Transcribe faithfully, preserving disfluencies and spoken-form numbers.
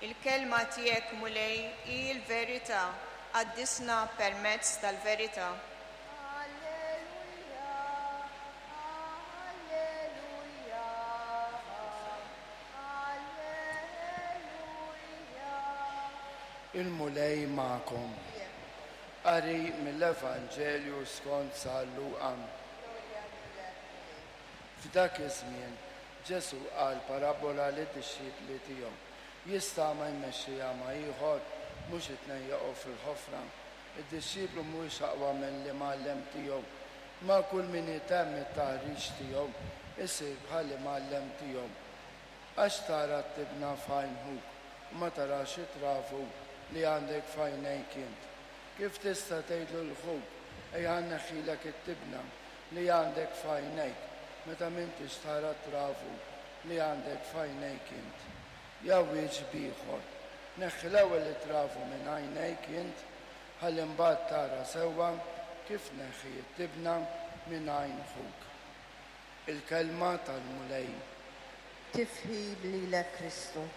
Il-kelma tiegħek, Mulej, hi l-verità, qaddisna permezz tal-verità. Alleluja, Alleluja, Alleluja. Il-Mulej magħkom. Qari mill-Evanġelju skont San Luqa. F'dak iż-żmien Ġesù qal parabola lid-dixxipli tiegħu. Jista' agħma jmexxi agħma ieħor? Mhux it-tnejn jaqgħu fil-ħofra? Id-dixxiplu mhuwiex aqwa mill-imgħallem tiegħu, ma kull min itemm it-taħriġ tiegħu isir bħall-imgħallem tiegħu. Għax tara t-tibna f'għajn ħuk u ma tarax it-travu li għandek f'għajnejk int? Kif tista' tgħidlu lil ħuk, 'Ejja nneħħilek it-tibna li għandek f'għajnejk,' meta m'intix tara t-travu li għandek f'għajnejk int? Jew wieġeb ieħor, 'Neħħi l-ewwel it-travu minn għajnejk int, ħalli mbagħad tara sewwa kif tneħħi t-tibna minn għajn ħuk." Il-kelma tal-Mulej. Tifħir lilek, Kristu.